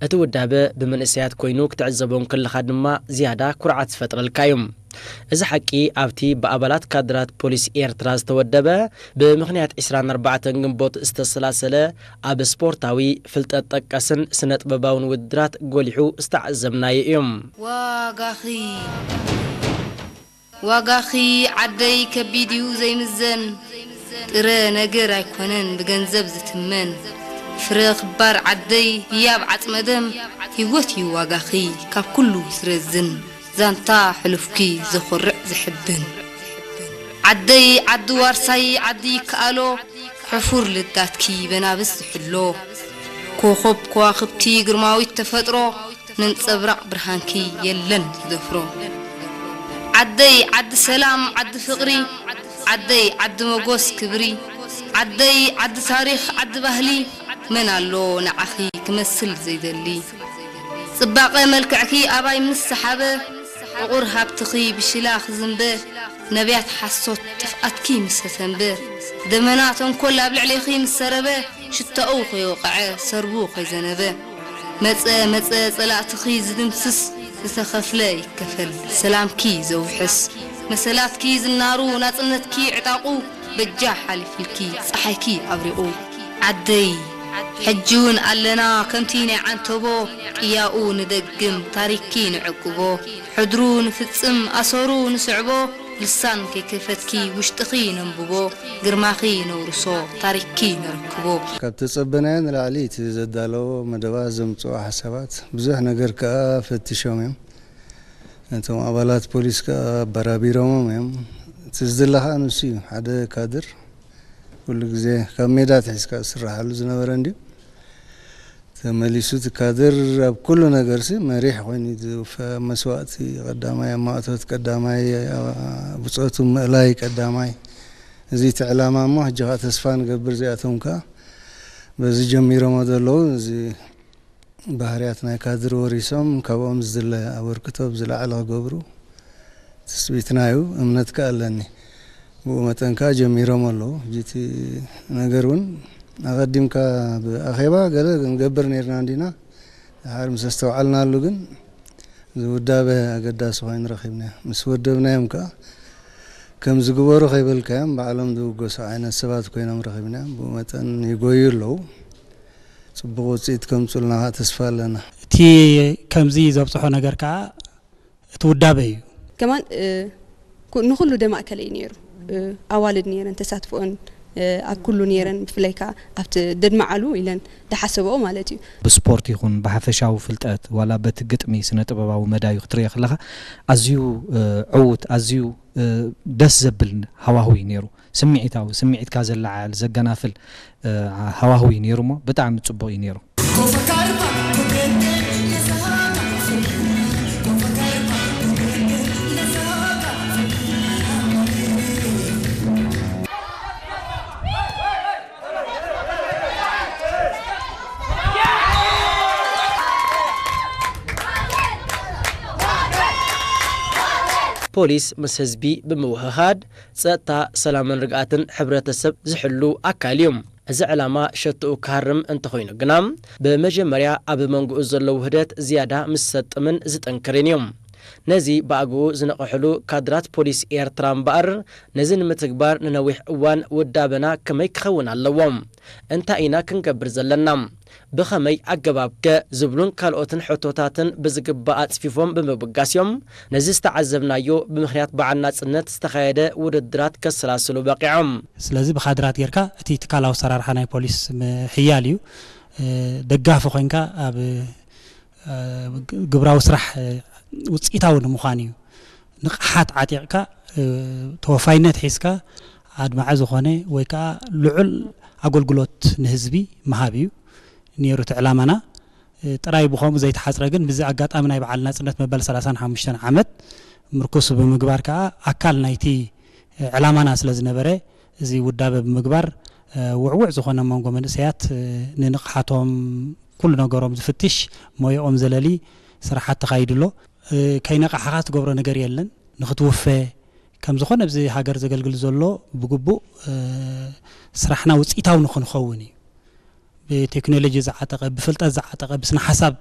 እቲ ውዳበ ብመንእሰያት ኮይኑ ክትዕዘቦ እንከለኻ ድማ ዝያዳ ኩርዓት ዝፈጥረልካ እዩ። እዚ ሓቂ ኣብቲ ብኣባላት ካድራት ፖሊስ ኤርትራ ዝተወደበ ብምኽንያት ዕስራን ኣርባዕተን ግንቦት ዝተሰላሰለ ኣብ ስፖርታዊ፣ ፍልጠት ጠቀስን ስነ ጥበባውን ውድድራት ጎሊሑ ዝተዓዘብናዮ እዩ። ዋጋኺ ዋጋኺ ዓደይ ከቢድ እዩ ዘይምዘን፣ ጥረ ነገር ኣይኮነን ብገንዘብ ዝትመን። ፍረ ክባር ዓደይ ህያብ ዓጽመ ደም፣ ህይወት እዩ ዋጋኺ ካብ ኩሉ ዝረዝን። ዛንታ ሕሉፍኪ ዘኾርዕ ዘሕብን። ዓደይ ዓዲ ዋርሳይ ዓዲ ይከኣሎ፣ ሕፉር ልዳትኪ በናብስ ዝሕሎ። ኮኾብ ከዋኽብቲ ግርማዊት ተፈጥሮ፣ ነንጸብራቕ ብርሃንኪ የለን ዝደፍሮ። ዓደይ ዓዲ ሰላም ዓዲ ፍቕሪ፣ ዓደይ ዓዲ መጎስ ክብሪ፣ ዓደይ ዓዲ ታሪኽ ዓዲ ባህሊ፣ መን ኣሎ ንዓኺ ክመስል ዘይደሊ። ጽባቐ መልክዕኪ ኣባይ ምስ ሰሓበ፣ ዕቑር ሃብትኺ ብሽላ ክዝንበ፣ ነብያት ሓሶት ጥፍኣትኪ ምስ ተተንበ፣ ደመና ተንኮል ኣብ ልዕሌኺ ምስ ሰረበ፣ ሽታኡ ከይወቕዐ ሰርቡ ከይዘነበ፣ መጸ መጸ ጸላእትኺ ዝድምስስ፣ ዝተኸፍለ ይከፈል ሰላምኪ ዘውሕስ፣ መሰላትኪ ዝናሩ ናጽነትኪ ዕጣቑ፣ በጃ ሓሊፍልኪ ጸሓይኪ ኣብሪቑ። ዓደይ ሕጂ እውን ኣለና ከምቲ ናይ ዓንተቦ፣ ቅያኡ ንደግም ታሪክኪ ንዕቅቦ፣ ሕድሩ ንፍጽም ኣሰሩ ንስዕቦ፣ ልሳን ከይከፈትኪ ውሽጥኺ ነንብቦ፣ ግርማኺ ነውርሶ ታሪክኪ ነረክቦ። ካብ ተጸበናዮ ንላዕሊ እቲ ዘዳለዎ መደባት ዘምጽኦ ሓሳባት ብዙሕ ነገር ከኣ ፈትሾም እዮም። እቶም ኣባላት ፖሊስ ከኣ ኣበራቢሮሞም እዮም። እቲ ዝድለ ከኣ ንሱ እዩ። ሓደ ካድር ኩሉ ግዜ ካብ ሜዳ ኣትሒዝካ ዝስርሓሉ ዝነበረ እንድዩ። ተመሊሱ እቲ ካድር ኣብ ኩሉ ነገርሲ መሪሕ ኮይኑ እዩ ዝውፈ። ኣብ መስዋእቲ ቀዳማይ፣ ኣብ ማእቶት ቀዳማይ፣ ኣብ ብጾቱ ምእላይ ቀዳማይ። እዚ እቲ ዕላማ እሞ ሕጂ ከኣ ተስፋ ንገብር እዚኣቶም ከኣ በዚ ጀሚሮሞ ዘለዉ እዚ ባህርያት ናይ ካድር ወሪሶም ካብኦም ዝድለ ኣበርክቶ ብዝለዓለ ክገብሩ ትጽቢትና እዩ፣ እምነት ከኣ ኣለኒ። ብኡ መጠን ከኣ ጀሚሮም ኣለዉ። ሕጂ እቲ ነገር እውን ኣቐዲምካ ብኣኼባ ገለ ክንገብር ነይርና እንዲና፣ ድሓር ምስ ኣስተውዓልናሉ ግን እዚ ውዳበ ኣገዳሲ ኮይኑ ረኺብናዮ። ምስ ወደብናዮም ከኣ ከም ዝግበሩ ከይበልካዮም ባዕሎም ዝውገሱ ዓይነት ሰባት ኮይኖም ረኺብናዮም። ብኡ መጠን ይጎዩ ኣለዉ። ጽቡቕ ውጽኢት ከምጽኡልና ከኣ ተስፋ ኣለና። እቲ ከምዚ ዘብጽሖ ነገር ከኣ እቲ ውዳበ እዩ። ከማን፣ እ፣ ኩ-፣ ንኹሉ ደማእከለ እዩ ነይሩ። እ፣ ኣዋልድ ነይረን ተሳትፎኦን፣ እ፣ ኣብ ኩሉ ነይረን፣ ብፍላይ ከኣ ኣብቲ ደድመዓሉ ኢለን ዝሓሰብኦ ማለት እዩ። ብስፖርት ይኹን ብሓፈሻዊ ፍልጠት ዋላ በቲ ግጥሚ ስነ ጥበባዊ መዳዩ ክትሪኦ ከለኻ ኣዝዩ፣ እ፣ ዕዉት፣ ኣዝዩ፣ እ፣ ደስ ዘብል ሃዋህው እዩ ነይሩ። ስምዒታዊ፣ ስምዒትካ ዘለዓዕል፣ ዘገናፍል፣ እ፣ ሃዋህው እዩ ነይሩ እሞ ብጣዕሚ ጽቡቕ እዩ ነይሩ። ፖሊስ ምስ ህዝቢ ብምውህሃድ ጸጥታ፣ ሰላምን ርግኣትን ሕብረተሰብ ዝሕሉ ኣካል እዩ። እዚ ዕላማ ሸትኡ ክሃርም እንተኾይኑ ግና፣ ብመጀመርያ ኣብ መንጎኡ ዘሎ ውህደት ዝያዳ ምስ ዝሰጥምን ዝጠንክርን እዩ። ነዚ ብኣግኡ ዝነቕሕሉ ካድራት ፖሊስ ኤርትራ እምበኣር፣ ነዚ ንምትግባር ንነዊሕ እዋን ውዳበና ከመይ ክኸውን ኣለዎ? እንታይ ኢና ክንገብር ዘለና? ብኸመይ ኣገባብከ? ዝብሉን ካልኦትን ሕቶታትን ብዝግባእ ኣጽፊፎም ብምብጋስ እዮም፣ ነዚ ዝተዓዘብናዮ ብምኽንያት በዓል ናጽነት ዝተኻየደ ውድድራት ከሰላስሉ በቒዖም። ስለዚ ብካድራት ጌርካ እቲ ትካላዊ ኣሰራርሓ ናይ ፖሊስ ምሕያል እዩ። እ፣ ደጋፊ ኮይንካ ኣብ፣ እ፣ ግብራዊ ስራሕ፣ እ፣ ውጽኢታዊ ንምዃን እዩ። ንቕሓት ዓጢቕካ፣ እ፣ ተወፋይነት ሒዝካ ኣድማዒ ዝኾነ ወይ ከኣ ልዑል ኣገልግሎት ንህዝቢ ምሃብ እዩ ነይሩ እቲ ዕላማና። እ፣ ጥራይ ብኸምኡ ዘይተሓጽረ ግን፣ ብዚ ኣጋጣሚ ናይ በዓል ናጽነት መበል ሰላሳን ሓሙሽተን ዓመት ምርኩስ ብምግባር ከኣ ኣካል ናይቲ፣ እ፣ ዕላማና ስለ ዝነበረ፣ እዚ ውዳበ ብምግባር፣ እ፣ ውዕዉዕ ዝኾነ መንጎ መንእሰያት፣ እ፣ ንንቕሓቶም፣ ኩሉ ነገሮም ዝፍትሽ፣ ሞያኦም ዘለሊ ስራሓት ተኻይዱ ኣሎ። እ፣ ከይነቓሕኻ ትገብሮ ነገር የለን። ንኽትውፈ፣ ከም ዝኾነ ኣብዚ ሃገር ዘገልግል ዘሎ ብግቡእ፣ እ፣ ስራሕና ውጽኢታዊ ንኽንኸውን እዩ። ብቴክኖሎጂ ዝዓጠቐ፣ ብፍልጠት ዝዓጠቐ፣ ብስነ ሓሳብ